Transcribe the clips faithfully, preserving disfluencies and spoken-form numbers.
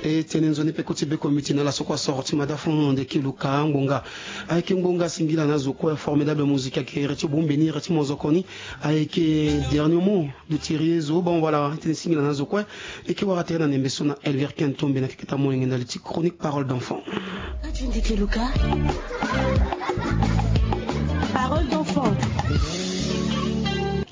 E tene nzoni pe koti beko miti na ala so kue asoro ti mada fo na ndeke luka ngbonga. Ayeke ngbonga singila na zo kue, formidable musique ayeke iri ti bombe ni, iri ti mozoko ni. Ayeke dernier mot de tiri ye zo. Bon, voilà, e tene singila na zo kue. E ke wara tere na ndembe so na Elver Ken Tombe na keketa molenge ndali ti chronique Parole d'enfant. Ndeke luka. Parole d'enfant.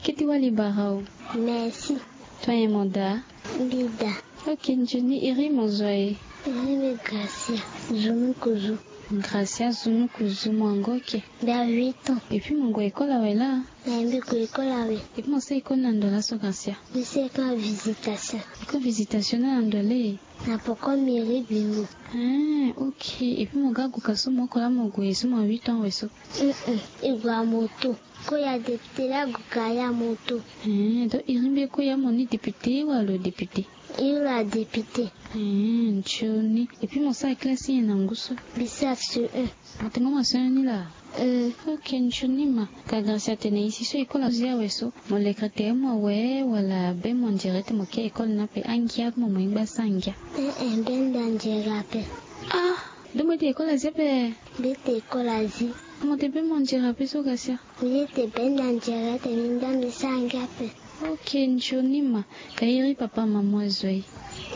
Kete wali barao. Merci. Toi et Moda. Bida. Ok, nzoni iri mo zo aye? Iri mbi Gracia, Zunukuzu. Gracia Zunukuzu, mo ango ke? Mbi a huit ans. Et puis mo gue école awe laa? Eh, mbi gue école awe. Et puis mo sara école na ndo laso Gracia? Mbi sara école na Visitation. École Visitation na ndo le? Na poko mairie Bimbo. Ah, ok. Et puis mo ga gue ka so mo oko laa mo gue so mo a huit ans awe so? Mm-mm. E gue a moto. Koya député la gue ka ya moto. Eh, donc iri mbi koya mo ni député wala lo député? Iri la député. Eh, nzoni. Et puis mo sara classe nyen na ngu so? Mbi sara C E un. Mo tengo mo C E un ni laa? Mm. Ok, nzoni ma. Ka Gracia atene e si so école azo awe so, mo lekere tere mo awe wala be mo nzere ti mo ke école ni ape? Angia mo mo yingba sara ngia. Eh, eh, be nda nzere ape. Ah, donc mo ete école azi ape? Mbi ete école azi. Mo ete be mo nzere ape so Gracia? Mbi ete be nda nzere ete mbi nda mbi sara ngia ape. Ok, nzoni ma. Ka iri papa maman azo aye?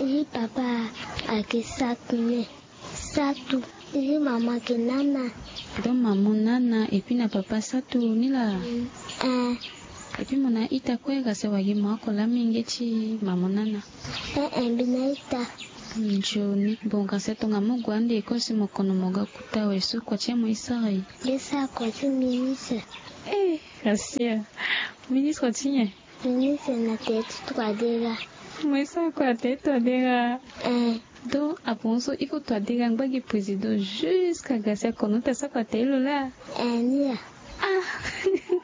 Iri papa ayeke Satu ne. Satu. Iri maman ayeke Nana. Donc maman Nana et puis na papa Satu ni laa? Mm, eh. Et puis mo na ita kue Gracia, wala gi mo oko laa mingi ti maman Nana? Eh, eh, mbi na ita. Nzoni. Bon, Gracia, tonga mo gue ande école si mo kono mo ga kuta awe so, kua ti nyen mo ye sara aye? Mbi ye sara kua ti ministre. Eh, Gracia. Ministre ti nyen? Ministre na tere ti Touadéra. Mo ye sara kua na tere ti Touadéra. Eh. Donc apongo so iko Touadéra angba gi président jusqu'à Gracia kono ti asara kua tere lo laa? Eh, ni laa. Ah,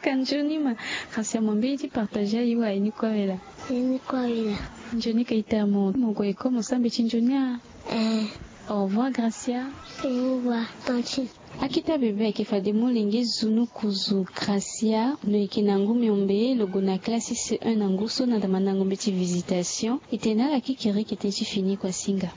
ka nzoni ma. Gracia, mo mbeni ti partager aye wa aye ni kue awe laa? Aye ni kue awe laa. Nzoni ka ita mo, mo gue école mo sara mbeti nzoni a? Eh. Au revoir Gracia. Au revoir tantine. Akita bebe ayeke fade molenge Zunukuzu Gracia, lo yeke na ngu miombe, lo gue na classe C E un na ngu so na damandango mbeti Visitation. E tene na ala kikiriki tënë ti fini kua singa.